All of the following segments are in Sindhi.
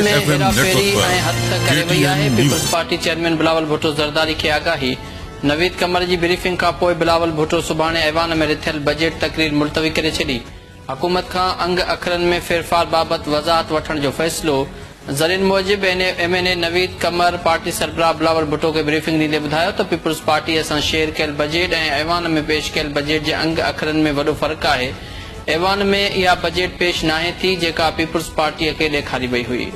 ۾ F M Hera network ڦيري پر ۽ هٿ ڪي ڪري ٽي وئي آهي، N peoples news. Party chairman Bilawal Bhutto Zardari کي آگاهي، نويد قمر جي بريفنگ کانپوء بلاول ڀٽو سڀاڻي ايوان ۾ رٿيل بجيٽ تقرير ملتوي ڪري ڇڏي، حڪومت کان انگ اکرن ۾ ڦيرڦار بابت وضاحت وٺڻ جو فيصلو، ذريعن موجب M N A Naveed Qamar party سربراهه بلاول ڀٽو کي بريفنگ ڏيندي ٻڌايو ته پيپلز پارٽي سان شيئر ڪيل بجيٽ ۽ ايوان ۾ پيش ڪيل بجيٽ جي انگ اکرن ۾ وڏو فرق آهي، ايوان ۾ اها بجيٽ پيش ناهي ٿي جيڪا پيپلز پارٽي کي ڏيکاري وئي هئي.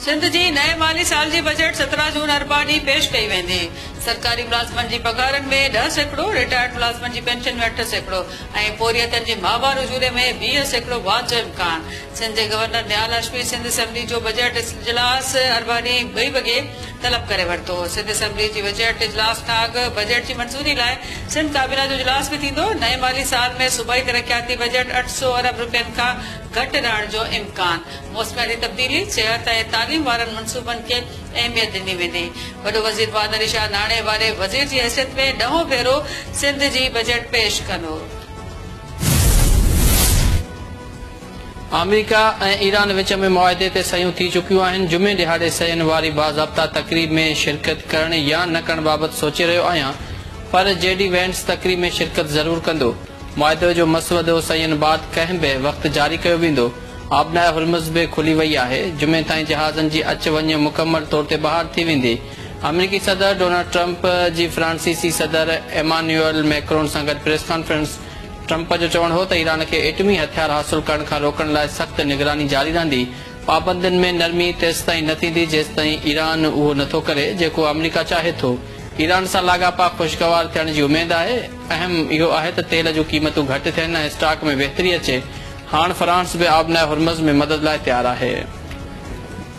سنڌ جي نئين مالي سال جي بجيٽ 17 جون اربع ڏينهن پيش ڪئي ويندي. سرڪاري ملازمن جي پگهارن ۾ 10%، رٽائرڊ ملازمن جي پينشن ۾ 8% ۽ پورهيتن جي ماهوار اجوري ۾ 20% واڌ جو امڪان. سنڌ جي گورنر نهال هاشمي سنڌ اسيمبلي جو بجيٽ اجلاس اربع ڏينهن ٻئي وڳي طلب ڪري ورتو. سنڌ اسيمبلي جي بجيٽ اجلاس کان اڳ بجيٽ جي منظوري لاء سنڌ ڪابينا جو اجلاس به ٿيندو. نئين مالي سال ۾ صوبائي ترقياتي بجيٽ 800 ارب رپين کان گهٽ رهڻ جو امڪان. موسمياتي تبديلي، صحت ۽ تعليم وارن منصوبن کي اهميت ڏني ويندي. وڏو وزير مراد علي شاهه ناڻي واري وزير جي حيثيت ۾ ڏهون ڀيرو سنڌ جي بجيٽ پيش ڪندو. آمريڪا ۽ ايران وچ ۾ معاهدي تي صحيحون ٿي چڪيون آهن، جمعي ڏهاڙي صحيحن واري باضابطا تقريب ۾ شرڪت ڪرڻ يا نه ڪرڻ بابت سوچي رهيو آهيان پر جي ڊي وينس تقريب ۾ شرڪت ضرور ڪندو. معاهدي جو مسودو صحيحن بعد ڪنهن به وقت جاري ڪيو ويندو. آبناء هرمز به کلي وئي آهي. جمعي تائين جهازن جي اچ وڃ مڪمل طور تي بحال ٿي ويندي. آمريڪي صدر ڊونلڊ ٽرمپ جي فرانسيسي صدر ايمانيوئل ميڪرون سان گڏ پريس ڪانفرنس. ٽرمپ جو چوڻ هو ته ايران کي ايٽمي هٿيار حاصل ڪرڻ کان روڪڻ لاء سخت نگراني جاري رهندي. پابندين ۾ نرمي تيستائين نه ٿيندي جيستائين ايران اهو نه ٿو ڪري جيڪو آمريڪا چاهي ٿو. ايران سان لاڳاپا خوشگوار ٿيڻ جي اميد آهي. اهم اهو آهي ته تيل جون قيمتون گهٽ ٿين ۽ اسٽاڪ ۾ بهتري اچي. هاڻ فرانس به آبناء هرمز ۾ مدد لاء تيار آهي.